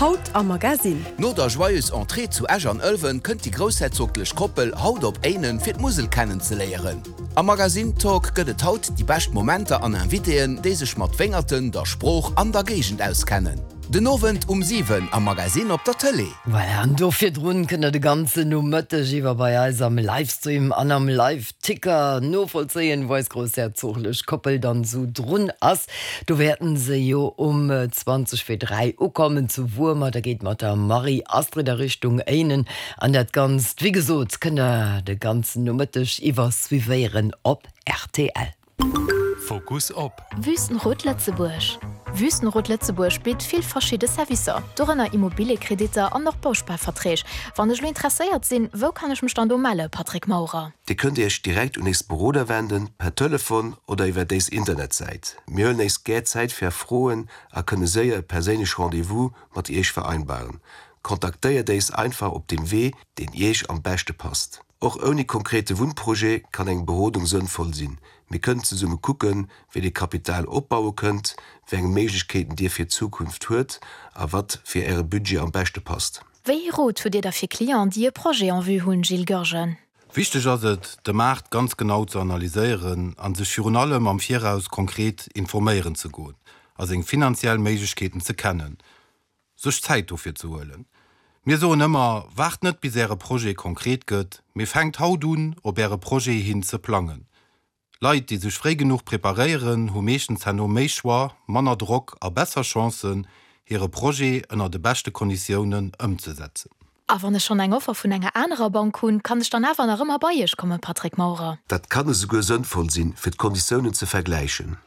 Haut am Magasinn. No der Joyeuse Entrée zu Esch an Ëlwen kënnt déi groussherzoglech Koppel haut op Éinen fir d'Musel kennenzeléieren. Am Magasinn Talk gëtt et haut déi bescht Momenter an Invitéen, déi sech mat Wéngerten, der Sprooch an der Géigend auskennen. Den Owend um 7 am Magasinn op der Tëlee. Voilà, an do virdrun kënnt der de ganzen Nomëtteg iwwer bei eis am Livestream an am Live-Ticker novollzéien, wou eis groussherzoglech Koppel dann esou drun ass. Do wäerten se jo um 20 fir 3 ukommen zu Wuermer. Da geet mat der Marie-Astrid a Richtung Éinen. An dat Ganzt, wéi gesot, kënnt der de ganzen Nomëtteg iwwer suivéieren op rtl. Fokus op. Wüstenrot Lëtzebuerg Wüstenrot Lëtzebuerg bitt vill verschidde Servicer, dorënner Immobiliekreditter an och Bausparverträg. Wann ech elo interesséiert sinn, wou kann ech mech dann do melle, Patrick Maurer? Dir kënnt Iech direkt un éis Beroder wenden, per Telefon oder iwwert éis Internetsäit. Mir huelen éis gär Zäit fir Är Froen a kënne séier e perséinlech Rendez-vous mat Iech vereinbaren. Kontaktéiert éis einfach op deem Wee, deen Iech am beschte passt. Och ouni konkrete Wunnprojet kann eng Berodung sënnvoll sinn. Mir kënnen zesumme kucken, wéi Dir Kapital opbaue kënnt, wéi eng Méiglechkeeten Dir fir d'Zukunft huet a wat fir Äre Budget am beschte passt. Wéi ee Rot hutt Dir da fir Clienten, déi e Projet en vue hunn, Gilles Goergen? Wichteg ass et, de Maart ganz genau ze analyséieren a sech virun allem am Viraus konkret informéieren ze goen a seng finanziell Méiglechkeeten ze kennen, sech Zäit dofir ze huelen. Mir soen ëmmer, Waart net bis Äre Projet konkret gëtt, mee fänkt haut un, op Äre Projet hin ze plangen. Leit, déi sech fréi genuch preparéieren, hu meeschtens herno méi Choix, manner Drock a besser Chancen, hire Projet ënner de beschte Konditiounen ëmzesetzen. A wann ech schonn eng Offer vun enger anerer Bank hunn, kann ech dann awer nach ëmmer bei Iech kommen, Patrick Maurer? Dat kann esouguer sënnvoll sinn, fir d'Konditiounen ze vergläichen.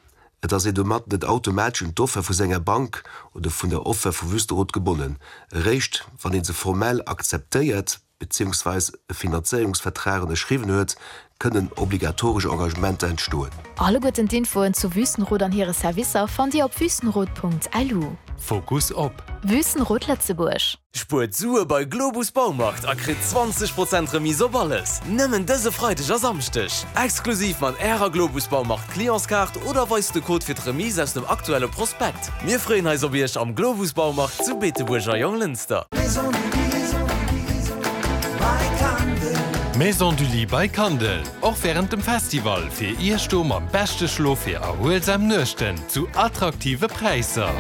Et ass een domat net automatesch un d'Offer vu senger Bank oder vun der Offer vu Wüstenrot gebonnen. Eréischt wann ee se formell akzeptéiert, beziehungsweis e Finanzéierungsvertrag ënnerschriwwen huet, kënnen obligatoresch Engagementer entstoen. Alleguerten d'Infoen zu Wüstenrot an hire Servicer fannt Dir op wüstenrot.lu. Fokus op. Wüstenrot Lëtzebuerg. Spuert Sue bei Globus Baumarkt a kritt 20 Prozent Remise op alles! Nëmmen dëse Freideg a Samschdeg! Exklusiv mat Ärer Globus Baumarkt Clientskaart oder weist de Code fir d'Remise aus dem aktuelle Prospekt. Mir freeën eis op Iech am Globus Baumarkt zu Beetebuerg a Jonglënster. Maison du Lit by Kandel, och wärend dem Festival fir Iech do mam beschte Schlof fir erhuelsam Nuechten zu attraktive Präisser.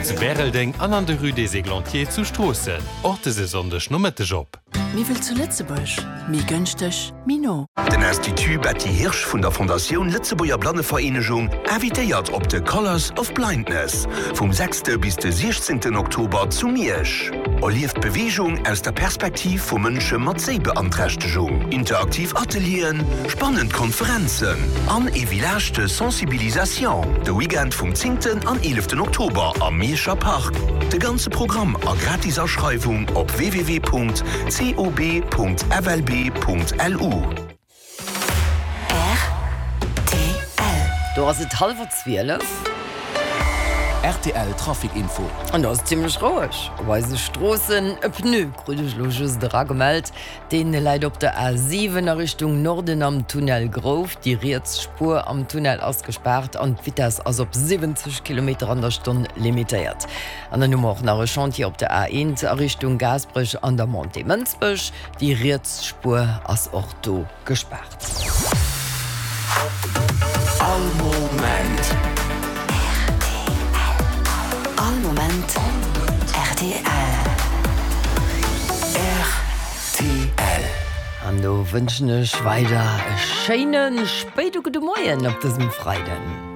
Zu Bäreldeng an an der Rue des Églantiers zu Stroossen, och dëse Sonndeg Nomëtteg op. Méi wëll zu Lëtzebuerg, méi gënschteg, méi no. Den Institut Betty Hirsch vun der Fondatioun Lëtzebuerger Blannevereenegung invitéiert op de Colours of Blindness vum sechste bis de 16 Oktober zu Miersch. Erlieft d'Beweegung aus der Perspektiv vu Mënsche mat Séibeanträchtegung. Interaktiv Atelieren, spannend Konferenzen an ee Village de Sensibilisation de Weekend vum zéngten an eeleften Oktober am Mierscher Park. De ganze Programm a gratis Aschreiwung op www.cob.flb.lu. Rtl. Do ass et hallwer 12. Rtl Trafic Info. An do ass et zimmlech roueg op eise Stroossen. E Pneu krut ech elo just eragemellt. Deen läit op der A 7 a Richtung Norden am Tunnel Grouf. Déi riets Spuer am Tunnel ass gespaart an d'Vitess ass op 70 Kilometer an der Stonn limitéiert. An dann hu mer och nach e Chantier op der A1 a Richtung Gaasperech an der Montée Mënsbech. Déi riets Spuer ass och do gespaart. All Moment. Rtl. All Moment rtl. Rtl. An do wënschen ech weider e schéine spéide gudde Moien op dësem Freiden.